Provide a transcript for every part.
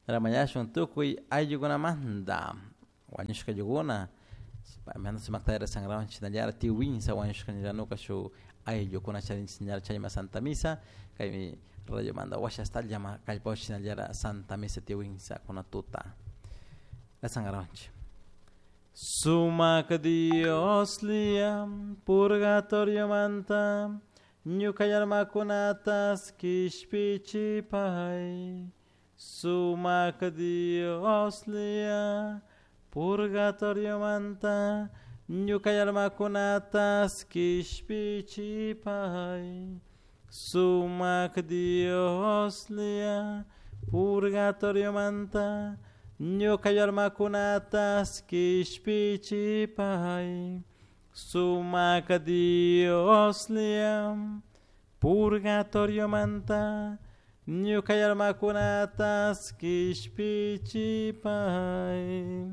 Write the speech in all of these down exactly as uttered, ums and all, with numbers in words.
Ramañashun tukuy ayllukunamanta wañushka ayllukuna paymanta sumakta rezangrawan shinallara tiwinsa wañushka ñuka shuk ayllukuna charinchik shinallara chayma Santa Misa kaymi radiomanta washa hasta llama kallpawan shinallara Santa Misa tiwinsa kuna tuta rezangrawanchik. Sumak Dios liam purgatorio manta ñuka almakunatas kishpichipay. Sumak Dios lia purgatorio manta ñuka almakunatas kishpichipay. Sumak Dios lia purgatorio manta ñuka almakunatas kishpichipay. Sumak Dios lia purgatorio manta ñuka almakunatas kishpichipay.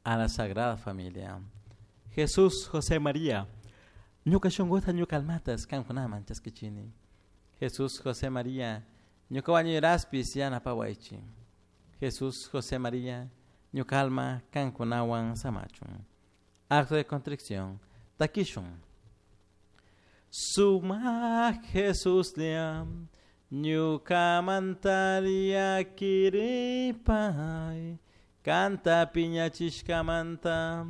A la Sagrada Familia. Jesús, José, María, ñuka shunkuta ñuka almatas kankunaman chaskichini. Jesús, José, María, ñuka wañuyraspis yanapawaychik. Jesús, José, María, ñuka alma kankunawan samachun. Acto de contrición. Takishun. Sumak Jesús liam ñuka mantaria kiripay. Kanta piñachishkamanta